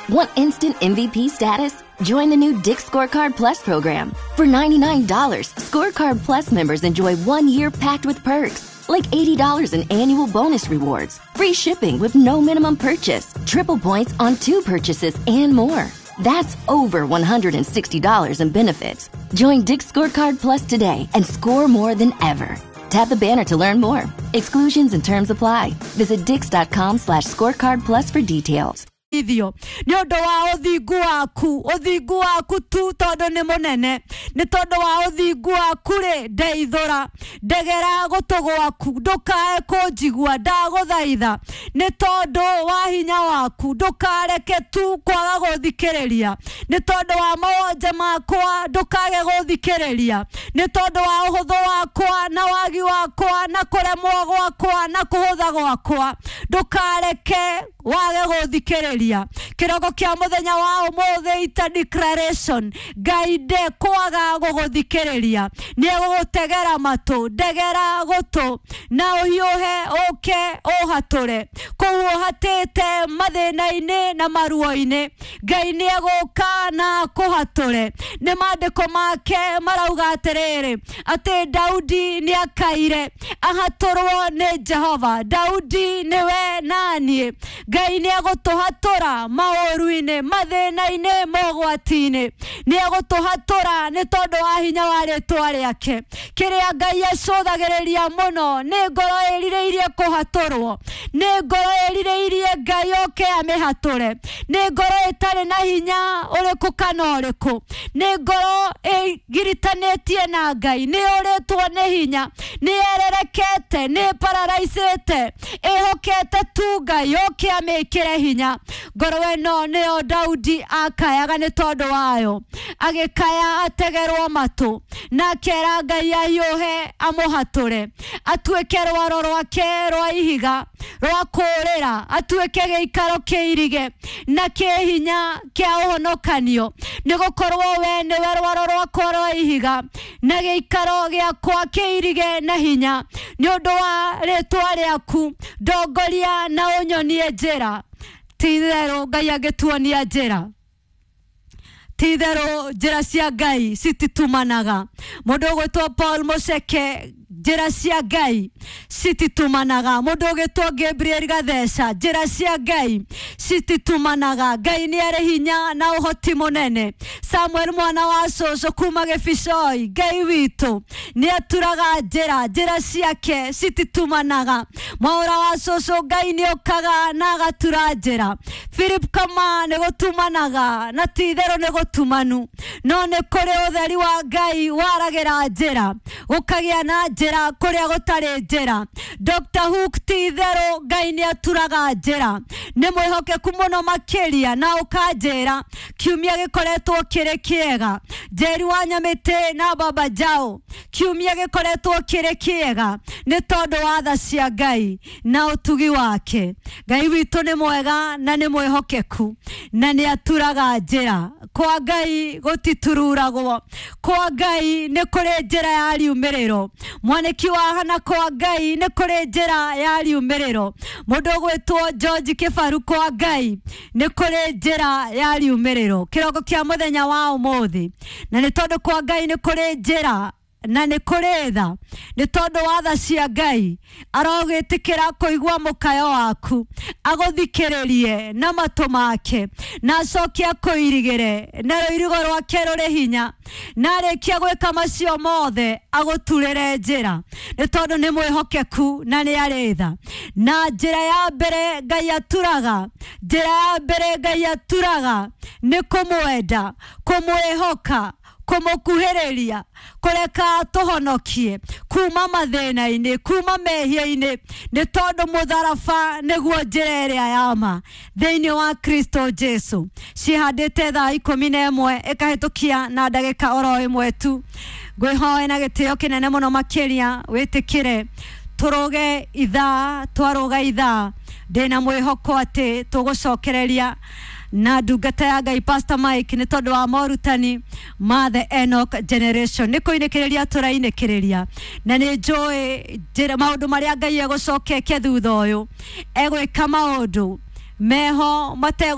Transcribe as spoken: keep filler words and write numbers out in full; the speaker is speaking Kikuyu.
Want instant M V P status? Join the new Dick's Scorecard Plus program. For ninety-nine dollars, Scorecard Plus members enjoy one year packed with perks, like eighty dollars in annual bonus rewards, free shipping with no minimum purchase, triple points on two purchases, and more. That's over one hundred sixty dollars in benefits. Join Dick's Scorecard Plus today and score more than ever. Tap the banner to learn more. Exclusions and terms apply. Visit dicks.com slash scorecard plus for details. Ithio nĩ ũndũ wa ũthingu waku, ũthingu waku tu tondũ nĩ mũnene, nĩ tondũ wa ũthingu waku rĩ ndeithũra, ndegera gũtũ gwaku ndũkae kũnjigua, ndagũthaitha nĩ tondũ wa hinya waku ndũkareke tu kwaga gũthikĩrĩria, nĩ tondũ wa mawonje makwa ndũkage gũthikĩrĩria, nĩ tondũ wa ũhũthũ wakwa na wagi wakwa na kũremwo gwakwa na kũhũtha gwakwa ndũkareke wage gũthikĩrĩria. Kĩroko kĩa mũthenya wa ũmũthĩ ita declaration, Ngai ndekwaga gũgũthikĩrĩria, nĩ egũgũtegera matũ, ndegera gũtũ na ũhiũhe ũke ũhatũre kũu ũhatĩte mathĩna-inĩ na maruo-inĩ. Ngai nĩ egũka na akũhatũre. Nĩ maandĩko make marauga atĩrĩrĩ, atĩ Daudi nĩ akaire ahatũrwo nĩ Jehova. Daudi nĩwe naniĩ. Ngai nĩ egũtũhatũra maũru-inĩ, mathĩna-inĩ, mogwati-inĩ. Nĩ egũtũhatũra nĩ tondũ wa hinya wa rĩtwa rĩake. Kĩrĩa Ngai acũthagĩrĩria mũno nĩ ngoro ĩrirĩirie kũhatũrwo, nĩ ngoro ĩrirĩirie Ngai oke amĩhatũre, nĩ ngoro ĩtarĩ na hinya ũrĩkũ kana ũrĩkũ, nĩ ngoro ĩgiritanĩtie na Ngai, nĩ ũrĩtwo nĩ hinya, nĩ ererekete, nĩ pararaicĩte, ĩhokete tu Ngai oke amĩkĩre hinya. Ngoro ĩno nĩyo Daudi akayaga nĩ tondũ wayo, agĩkaya ategerwo matũ na akera Ngai ahiũhe amũhatũre, atuĩke rwaro rwake rwa ihiga rwa kũũrĩra, atuĩke gĩikaro kĩirige na kĩ hinya kĩa ũhonokanio, nĩgũkorwo we nĩwe rwaro rwakwa rwa ihiga na gĩikaro gĩakwa kĩirige na hinya. Nĩ ũndũ wa rĩtwa rĩaku ndongoria na ũnyonie njĩra. Ti itherũ Ngai angĩtuonia njĩra, ti itherũ njĩra cia Ngai cititumanaga. Mũndũ ũgwĩtwo Paul Mũceke, njĩra cia Ngai cititumanaga. Mũndũ ũgwĩtwo Gabriel Gatheca, njĩra cia Ngai cititumanaga. Ngai nĩ arĩ hinya na ũhoti mũnene. Samuel mwana wa cũcũ kuma Gĩbicoi, Ngai witũ nĩ aturaga njĩra, njĩra ciake cititumanaga. Mwaũra wa cũcũ, Ngai nĩ okaga na agatura njĩra. Philip Kama nĩ gũtumanaga na ti itherũ nĩ gũtumanu, no nĩ kũrĩ ũtheri wa Ngai waragĩra njĩra, gũkagĩa na njĩra kũrĩa gũtarĩ njĩra. Doctor Hook, ti itherũ Ngai nĩ aturaga njĩra, nĩ mwĩhokeku mũno makĩria na ũkanjĩra kiumia gĩkoretwo kĩrĩ kĩega. Njeri wa Nyamĩtĩ na Baba Jao, kiumia gĩkoretwo kĩrĩ kĩega nĩ tondũ wa tha cia Ngai na ũtugi wake. Ngai witũ nĩ mwega na nĩ mwĩhokeku na nĩ aturaga njĩra. Kwa Ngai gũtitururagwo, kwa Ngai nĩ kũrĩ njĩra ya riumĩrĩro. Mwanĩki wa Hana, kwa Ngai nĩ kũrĩ njĩra ya riumĩrĩro. Mũndũ ũgwĩtwo George Kĩbaru, kwa Ngai nĩ kũrĩ njĩra ya riumĩrĩro. Kĩroko kĩa mũthenya wa ũmũthĩ, na nĩ tondũ kwa Ngai nĩ kũrĩ njĩra na nĩ kũrĩ tha, nĩ tondũ wa tha cia Ngai arogĩtĩkĩra kũigua mũkayo waku, agũthikĩrĩrie na matũ make, na acoke akũirigĩre na rũirigo rwake rũrĩ hinya, na arĩkia gwĩka macio mothe agũturĩre njĩra, nĩ tondũ nĩ mwĩhokeku na nĩ arĩ tha. Na njĩra ya mbere Ngai aturaga, njĩra ya mbere Ngai aturaga nĩ kũmwenda, kũmwĩhoka, kũmũkuhĩrĩria, kũreka tũhonokie kuma mathĩna-inĩ, kuma mehia-inĩ, nĩ tondũ mũtharaba nĩguo njĩra ĩrĩa ya ma thĩinĩ wa Kristo Jesu. Cihandĩte thaa ikũmi na ĩmwe ĩkahĩtũkia na ndagĩka oro ĩmwe tu. Ngwĩhoe na gĩtĩo kĩnene mũno makĩria wĩtĩkĩre tũrũge ithaa, twarũga ithaa ndĩna mwĩhoko atĩ tũgũcokereria na ndungata ya Ngai Pastor Mike nĩ tondũ wa morutani ma the Enoch generation. Nĩ kũinĩkĩrĩria tũrainĩkĩrĩria, na nĩ njũĩ njĩra maũndũ marĩa Ngai egũcoka eke thutha ũyũ, egwĩka maũndũ meho mategũ